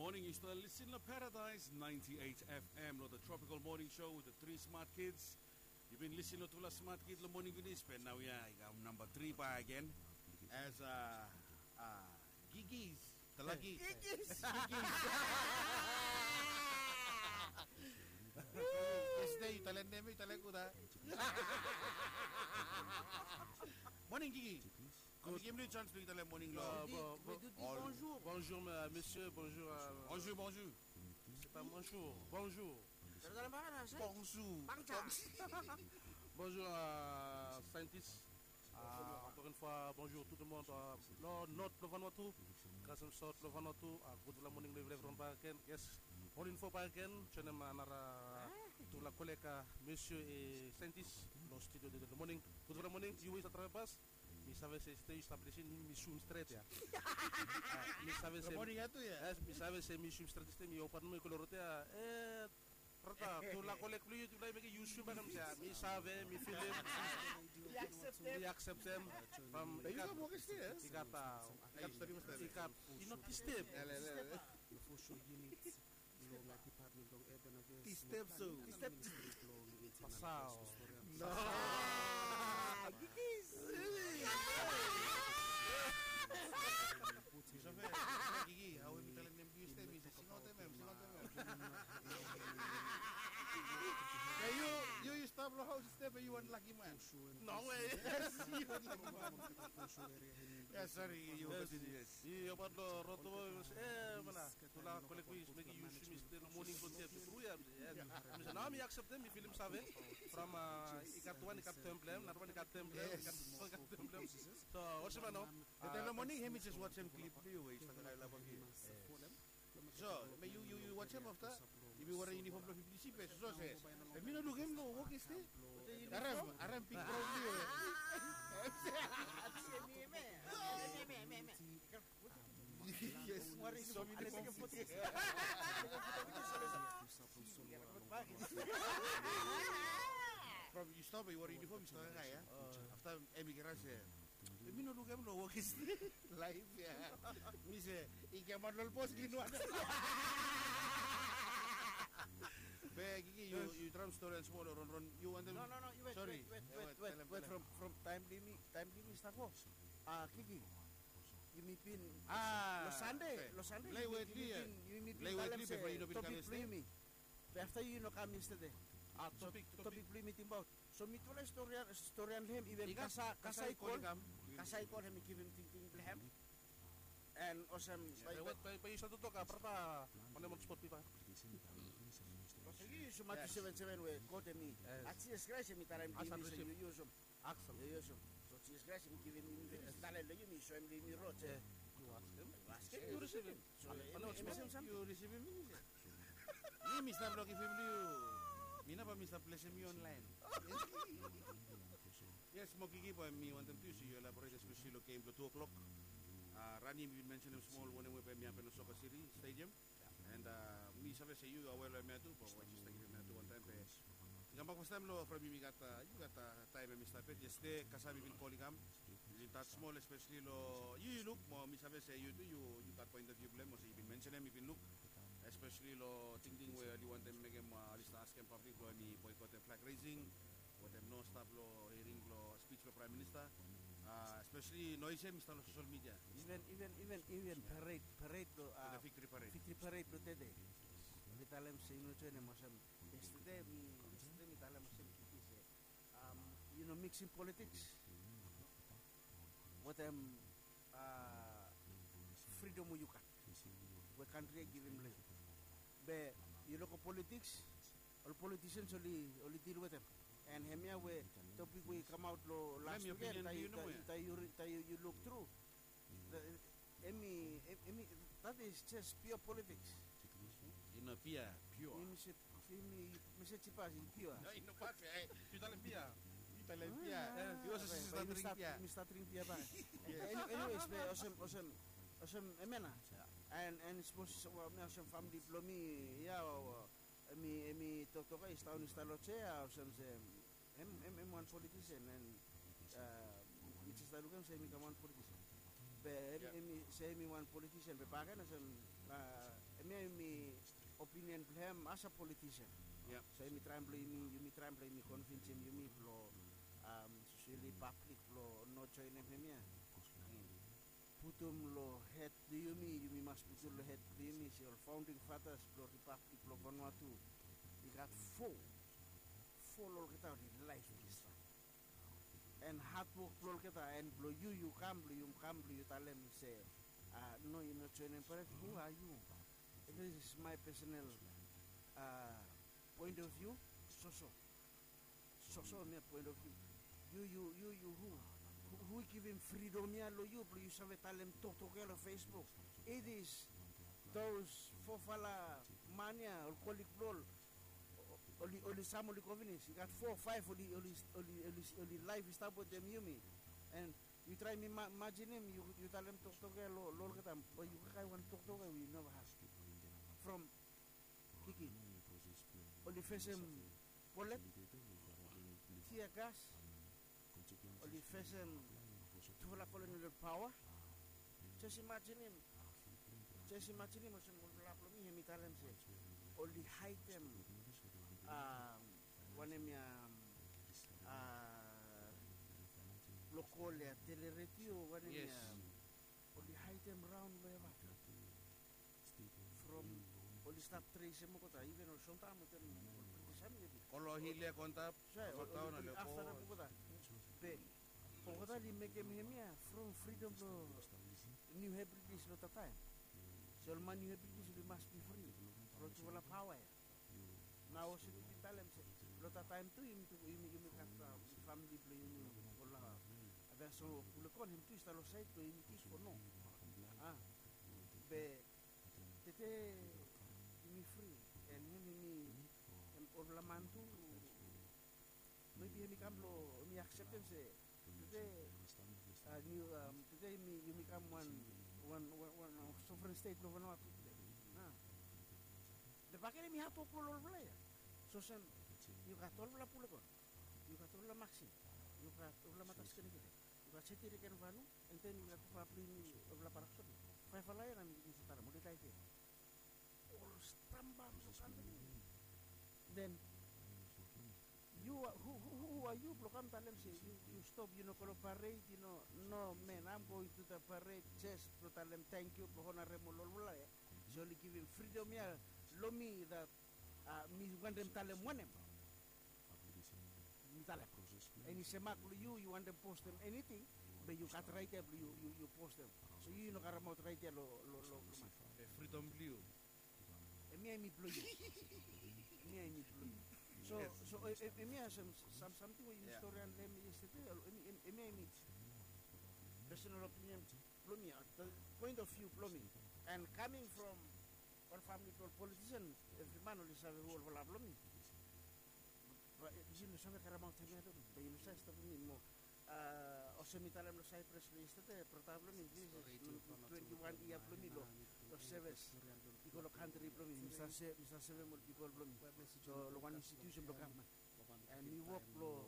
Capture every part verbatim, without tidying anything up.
Morning, yu stap lisin lo Paradise ninety-eight F M lo the Tropical Morning Show with the three smart kids. Yu bin lisin lo tufala smart kid lo morning finis, be naoia i kam namba tri bakegen as a, a Gigis. Talagi. Gigis. Gigis. Yestede yu talem nem, yu talem gud a. Morning, Gigi. Gud. Mi givim yu chans blong yu talem morning lo. Bonjour. Bonjour, monsieur. Bonjour. Bonjour. Bonjour. Bonjour. Bonjour. Bonjour, scientist. Encore une fois, bonjour tout le monde. Lo North blo Vanuatu, kasem South blo Vanuatu. Gudfala morning lo evriwan bakegen. Yes. Morning fo bakegen. Joinem another tufala koleg, monsieur e scientist lo studio tede lo morning. Gudfala morning. Yu we yu stap travel bas. Mi save se stap lisin, mi swim stret ya. Mi save se, morning ya tu ya. Yes, mi save se mi swim stret stret, mi opat nomo i go lo rot ya. E, brata, tufala koleg blong yu, tufala i mekem yu swim bakegen ya. Mi save, mi filim. Mi akseptem. From i gat, i gat, i gat, i no distep. Long a department long urban affairs. Distep so. Distep. Pasao. No. Gigis. Gigi, awe mi talem nem Distep, mi se singaotem, singaotem. Yu, yu, yu stap lo haos Distep, yu wan laki man. No way. Yes, yu wan laki man. Yes, sorry, yu continue, yes. Yu opat lo rot, e, mana. Tufala koleg blong yu i mekem yu swim stret lo morning fo step tru ya. Mi se nao mi akseptem, mi filim save. From, a, i gat wan i gat tem blong hem, nara wan i gat tem blong hem, i gat tem blong hem. So olsem nao. Taem lo morning hem i jes wajem klip blong yu we yu stap laef laef agi. So be yu, yu wajem afta. Yumi werem yunifom blong fifty C be so se. Be mi no lukim lo wok yestede. Harem, harem big problem blong yu. Yes. So mi no. From yu stap, yu werem yunifom, yu stap ya. Afta hem i krai se, mi no lukim lo wok yestede. Laef ya. Mi se i kamaot lo bos givim wan. Be Gigi, yu traem stori wan smol lo Ronron, yu wantem? No, no, no, yu wet, sori, wet, wet, wet, from, from taem blong yumi, taem blong yumi stap go. A, Gigi, yumi bin, a, lo Sande, lo Sande, yumi bin, yumi bin talem se topik blong yumi. Be afta yu no kam yestede. A, topik, topik blong yumi tingbaot. So mitufala i storian, storian lo hem, iven Kasa, Kasa i kol, Kasa i kol hem i givim tingting blong hem. And olsem, bae, bae yu save toktok, a, brata, wanem ol spot bipa? Olsem yu, yu sum Matiu seven seven we God hem i, a, Jisas Kraes hem i talem long yumi olsem yu, yu sum. Yu, yu sum. So Jisas Kraes hem i givim yumi, talem long yumi, soem long yumi rod se yu askem, yu risivim. So hem i olsem, yu risivim, yu risivim. Mi, mi stap lo givim long yu. Mi nao bae mi stap blesem yu onlaen. Yes, mo Gigi, bae mi wantem tu se yu elaborate especially lo gem blo tu o'clock. A, Rani, mi bin mensenem smol wanem we bae mi hapen lo Soccer City Stadium. And, a, mi save se yu awe lo hemia tu, bae yu jes taem hemia tu wantaem be i kambak fastaem lo from yumi gat, a, yu gat, a, taem hemi stap yet. Yestede Kasa mi bin kol i kam. Mi bin tas smol especially lo yu, yu luk, mo mi save se yu tu yu, yu gat point of view blong hem, olsem yu bin mensenem, yu bin luk especially lo tingting we oli wantem mekem, a, oli stap askem pablik blong hemi boykotem flag raising wetem no stap lo hearing blo spij blo Praem Minista. A, especially noes ya hemi stap lo sosel midia. Iven, iven, iven, iven pared, pared blo, a, viktori pared, viktori pared blo tede. Mi talem se yu no joenem olsem. Yestede mi, yestede mi talem olsem Gigi se, a, yu no miksim politiks wetem, a, fridom we yu gat, we kantri ya i givim long yu. Be yu luk ol politiks, ol politisians oli, oli dil wetem. And hemia we topik we i kamaot lo las wiken, taem yu, taem yu luk tru, hemi, hemi, that is just pure politiks. I no bia, pure. Hemi se, hemi, mi se jipas i pure. No, i no bad bia. Yu talem bia. Yu talem bia. Yu olsem stap dring bia. Mi stap dring bia bae. Anyways, be olsem, olsem, olsem hemia nao. And, and smol, olsem famili blo mi ya, hemi, hemi toktok ya i stap, i stap lo jea, olsem se hem, hem, hem wan politisen, and, a, mi jes stap lukim se hemi kam wan politisen. Be hem, hemi se hemi wan politisen, be bakegen olsem, a, Hemia yumi opinion blong hem as a politician. So yumi traem blong yumi yumi traem blong yumi konvinsim yumi blong sosoli pablik blong no joenem hemia. Putum long hed blong yumi yumi mas putum long hed blong yumi se ol faonding fatas blong ripablik blong Vanuatu i gat fo fo long olgeta oli laef distrae. En hadwok blong olgeta en blong yu yu kam blong yu kam blong yu talem se no yu no joenem baret hu a yu? This is my personal point of view. Soso soso mia point of view. Yu yu yu yu hu hu i givim fridom ya long yu blong yu save talem toktok ya long Facebook. It is those fofala man ya ol kolik blong ol oli oli sam oli kovinis i gat fo faef oli oli oli oli oli laef i stap wetem yumi. En yu traem imajinim yu talem toktok ya long olgeta bae yu kaikai wan toktok ya we yu neva has. From kiki oli fesem bolet, tia gas, oli fesem tufala kolonel paoa. Jes imajinim jes imajinim olsem ol blong mi hem i talem se oli haedem wanem ya blong kol ya teleredio wanem ya oli haedem raon long eva. From oli stap tresem olgeta iven ol sontaem oltem ol british hem i oli ol hil ya go antap. Afta na olgeta be olgeta oli mekem hem ya from fridom blong niu hebridis long tataem. Se ol man niu hebridis oli mas bi fri long tufala paoa ya. Nao olsem mi bin talem se long tataem tu yumi gat famili blong yumi ol adaso pulekon hem tu i stap long saed blong yumi kik o no? A be tete yumi fri en hem yumi olfala man tu mebi hem i kam blong hem i akseptem se tete niu tete yumi kam wan wan wan sofren stet blong Vanuatu tete. Be bakegen hem i hatwok blong olfala ya. So olsem yu gat olfala pulekon, yu gat olfala maksim, yu gat olfala matas kenekene, yu gat seti reken vanu, en den yu gat papa blong yumi olfala baraksopi. Faefala ya na mi givim se talem oli dae de. Ol stamba blong kantri. Den yu a hu a yu blong kam talem se yu stop yu no go long pared yu no? No man, am going tu da pared jes blong talem tangkiu blong honarem ol olfala ya. Se oli givim fridom ya long mi dat mi wantem talem wanem. Mi talem eni semak blong yu yu wantem postem eniting, be yu gat raet ya blong yu postem. So yu yu no karemaot raet ya long long long fridom blong yu. Hemia hemi blong yu. Hemia hemi blong yu. So so hemia olsem sam samting we yumi stori handle hemia yestede. Hemia hemi personal opinion blong mi, poen of view blong mi. And kaming from ol famili blong ol politisen, evri man oli save hu olfala blong mi. Yu no save karemaot hemia blong mi be yu no save stopim mi mo. Olsem mi talem long saipres long yestede brata blong mi, this is twenti wan yia blong mi long seves i go long kantri blong mi. Mi save sevem ol pipol blong mi long wan institusen blong gavman. And mi wok long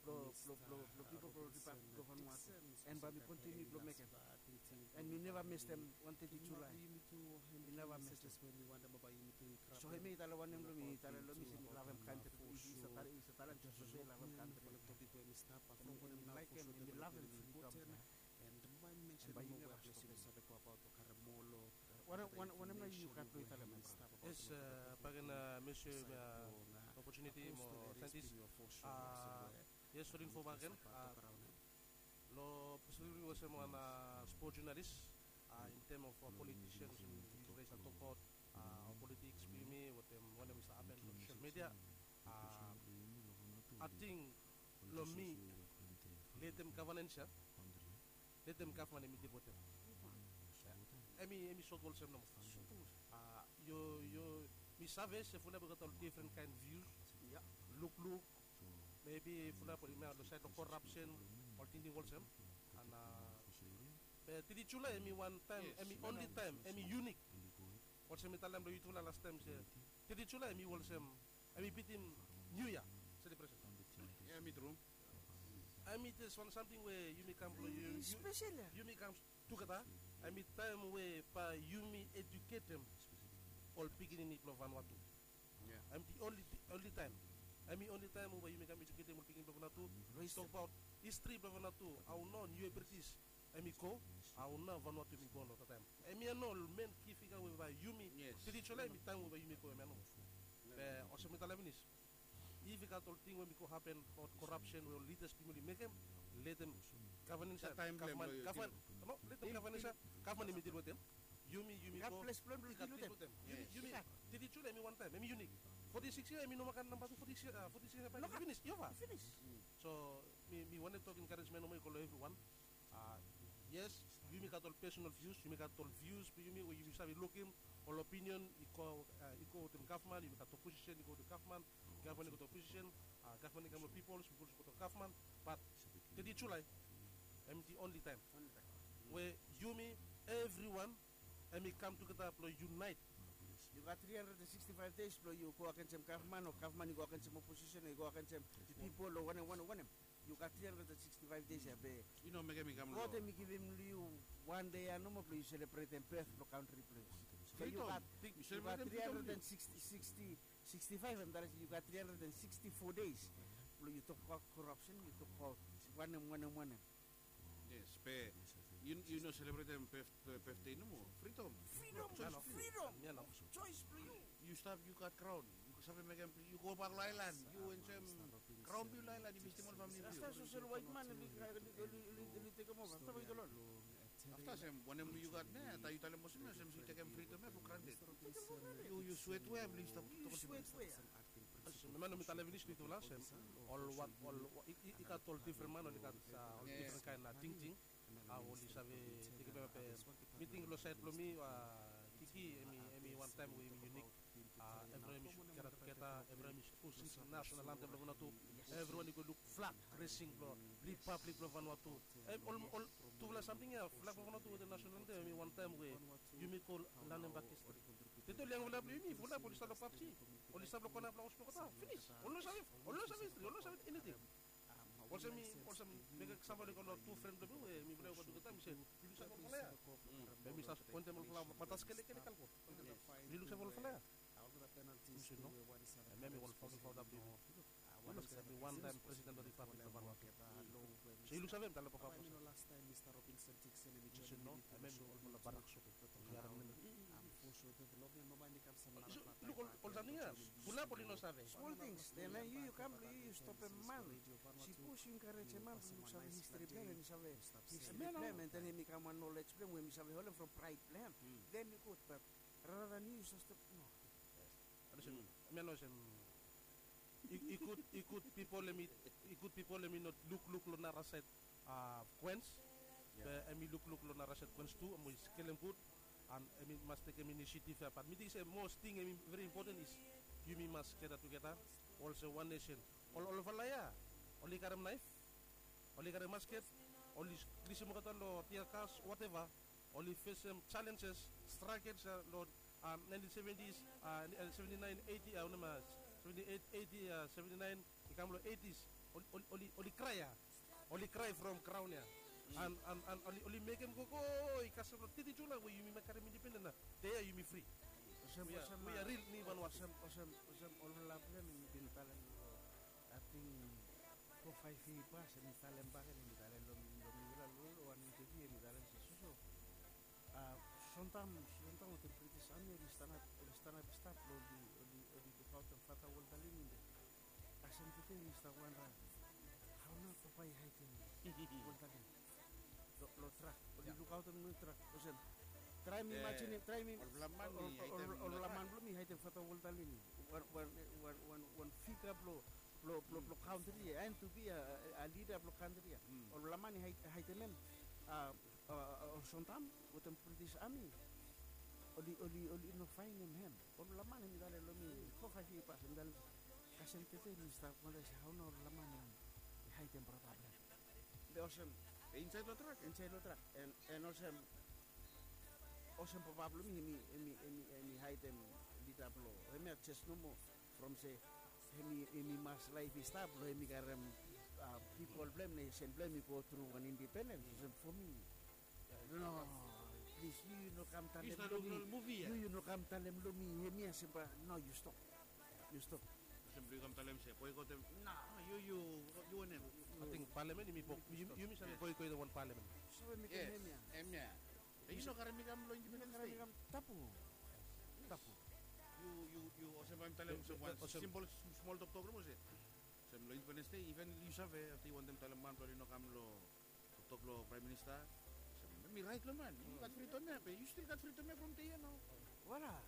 blong blong blong blong pipol blong ripablik blong Vanuatu. And bae mi kontiniu blong mekem. And mi neva mestem wan teti Julai. Mi neva mestem. So hemia i talem wanem long mi? I talem long mi se mi lavem kantri blong mi. I stap talem i stap talem jes olsem i lavem kantri. Hemi laekem hemi lavem fridom ya. And bae yu neva stopim. Wanem nao yu gat blong yu talem? Yes, bakegen, mesie, opotuniti mo saentis. Yes, oli info bakegen. Long spesifik olsem wan spot junalis, in tem of politisian olsem yu rais na tokbaot ol politiks blong yumi wetem wanem i stap hapen long sosel media. Ating long mi, letem gavnans ya, letem gavman hemi dil wetem. Hemi hemi sot olsem nomo. Yu yu mi save se fulap i gat ol difren kaen vius, lukluk, mebi fulap oli mea long saed long korapsen, ol tingting olsem. Ana be teti Julai hemi wan taem, hemi onli taem, hemi yunik. Olsem mi talem long yutufala lastaem se teti Julai hemi olsem hemi bitim niu yia selebresen. Hemi tru. Hemi jes wan samting we yumi kam blong yu, yumi kam tugeta. Hemi taem we bae yumi eduketem ol pikinini blong Vanuatu. Em the only, only time. Em i only time we yumi kam eduketem ol pikinini blong Vanuatu. Tokbaot histri blong Vanuatu, hao nao niu British em i go, hao nao Vanuatu em i go long that time. Em ya nao ol men ki figa we bae yumi, teti Julai em i taem we bae yumi go, em ya nao. Be olsem mi talem finis, if i gat ol ting we mi go hapen, ol korapsen we ol lidas blong yumi oli mekem, letem gavman i save, gavman, gavman, no, letem gavman i save, gavman i dil wetem. Yumi, yumi go. I gat ples blong yumi dil wetem. Yumi, yumi, teti Julai em i wantaem, em i unik. Foti sikis yia em i no moa gat namba tu, foti sikis yia, foti sikis yia bae i finis, i ova. Finis. So mi, mi wantem tok encouragement nomo i go long evriwan. Yes, yumi gat ol personal views, yumi gat ol views blong yumi we yumi save lukim ol opinion i go, i go wetem gavman, yumi gat opposition i go wetem gavman, gavman i go wetem opposition, gavman i kam long pipol, pipol i go wetem gavman. But teti Julai em i the only time we yumi, evriwan, em i kam tugeta blong unite. Yu gat tri handred and siksti faev days blong yu go agensem gavman o gavman i go agensem opposition o i go agensem pipol o wanem, wanem, wanem. Yu gat tri handred and siksti faev days ya be i no mekem i kam long. God em i givim long yu wan dei ya nomo blong yu selebretem beth blong kantri blong yu. So yu gat, yu gat tri handred and siksti, siksti, siksti faev, em talem se yu gat tri handred and siksti fo days blong yu tokbaot korapsen, yu tokbaot wanem, wanem, wanem. Yes, be yu no selebretem beth, beth dei nomo. Fridom. Fridom, fridom. Choice blong yu. Yu stap, yu gat graon. Yu save mekem, yu gobak long aelan. Yu enjoem graon blong yu long aelan, yu visitim ol famili blong yu. Afta sosel waetman oli, oli, oli, oli tekem ova. Afta waet ol ol. Afta olsem wanem we yu gat nao, taem yu talem olsem ya, olsem yu tekem fridom ya for granted. Yu, yu swet we ya blong yu stap. Yu swet we ya. Olsem, memba nao mi talem finis long yutufala olsem ol wan, ol, i, i, i gat ol difren man, oli gat ol difren kaen tingting. Hao oli save tekem, be mi ting long saed blong mi, Kiki, em i, em i wantaem we em i unik. Evriwan i sud geda tugeta, evriwan i sud pusim nasonal antem blong Vanuatu. Evriwan i go luk flag resing blong ripablik blong Vanuatu. Em, ol, ol tufala samting ya, flag blong Vanuatu wetem nasonal antem, em i wantaem we yumi go lanem bak histri. Tete ol yangfala blong yumi, fulap oli stap long PUBG, oli stap long kona blong haos blong olgeta. Finis. Oli no save, oli no save histri, oli no save eniting. Olsem mi, olsem mi gat sam blong ol tu fren blong mi we mifala i wok tugeta, mi se, yu luksave olfala ya? Be mi stap poentem olfala matas kelekele kalko. Yu luksave olfala ya? Mi se no. Hemia mi wan faonding faonda blong yumi. Yu luksave, mi wantaem presiden blong ripablik blong Vanuatu. So yu luksave, mi talem papa blong mi se no, hemia mi olfala barak sopi. Yu harem nem. Luk ol, ol samting ya, fulap oli no save. Smol tings, then yu, yu kam blong yu, yu stopem man. Sipos yu enkarejem man blong luksave histri blong hem, hem i save histri blong hem, and then hem i kam wan nolej blong hem we hem i save holem from praed blong hem. Then yu gud, but rather than yu, yu stop, no. Olsem, hemia nao olsem, i, i gud, i gud pipol hem i, i gud pipol hem i no lukluk long nara saed, a, Queens. Be hem i lukluk long nara saed Queens tu, hem i skelem gud, and hem i mas tekem inisiativ ya. But mi ting se most ting hem i veri impoten is yumi mas geda tugeta olsem wan nesen. Ol, olfala ya oli karem naef, oli karem masket, oli lisim olgeta long tear gas, whatever. Oli fesem jalenjes, stragels ya long, a, naentin seventis, a, seventi naen, eiti, a, wanem, a, seventi eit, eiti, a, seventi naen i kam long eitis. Oli, oli, oli, oli krae ya. Oli krae from graon ya. And, and, and oli, oli mekem gogo i kasem long teti Julae we yumi mas karem indipenden nao. Dei ya yumi fri. Olsem, we are, olsem, we are real, mi Vanuatu. Olsem, olsem, olsem olfala blong hem i bin talem long, ating, fo faef yia i pas, hem i talem bakegen, hem i talem long, long mifala long wan interviu, hem i talem se soso. A, Sontam, Sontam wetem British Army oli stanap, oli stanap i stap blong oli, oli, oli lukaotem Father Walter Lini. Be kasem tede yumi stap wondering hao nao papa i haedem Walter Lini long, long trak. Oli lukaotem long trak. Olsem, traem imajinim, traem, ol, ol, ol, olfala man blong hem i haedem Father Walter Lini, wan, wan, wan, wan, wan figa blong, blong, blong, blong kantri ya, and to be a, a, a leader blong kantri ya. Olfala man i haed, haedem hem. A, a, a, ol Sontam wetem British Army oli, oli, oli no faenem hem. Olfala man hem i talem long mi fo faef yia i pas, hem i talem, kasem tede mi stap wondering se hao nao olfala man hem i haedem brata blong hem. Be olsem, insaed long trak, insaed long trak, and, and olsem, olsem papa blong mi hem i, hem i, hem i, hem i haedem lida blong hemia jes nomo from se hem i, hem i mas laef i stap blong hem i karem, a, pipol blong hem, nesen blong hem i go tru wan indipendens. Olsem fo mi, no, Yu yu no kam talem long mi. Yu yu no kam talem long mi hemia se bae no, yu stop. Yu stop. Olsem blong yu kam talem se boikotem. No, yu yu yu wanem? Ating palamen yumi, yumi save boikotem wan palamen. Save mekem hemia. Hemia. Yu no karem mi kam long Independence Day. Tapu. Tapu. Yu yu yu olsem bae mi talem olsem wan simpol smol toktok long olsem. Olsem long Independence Day, even yu save afta yu wantem talem man blong yu no kam long toktok long Praem Minista. Olsem mi raet long man, yu gat fridom ya be yu stil gat fridom ya from dei ya nao. Wara.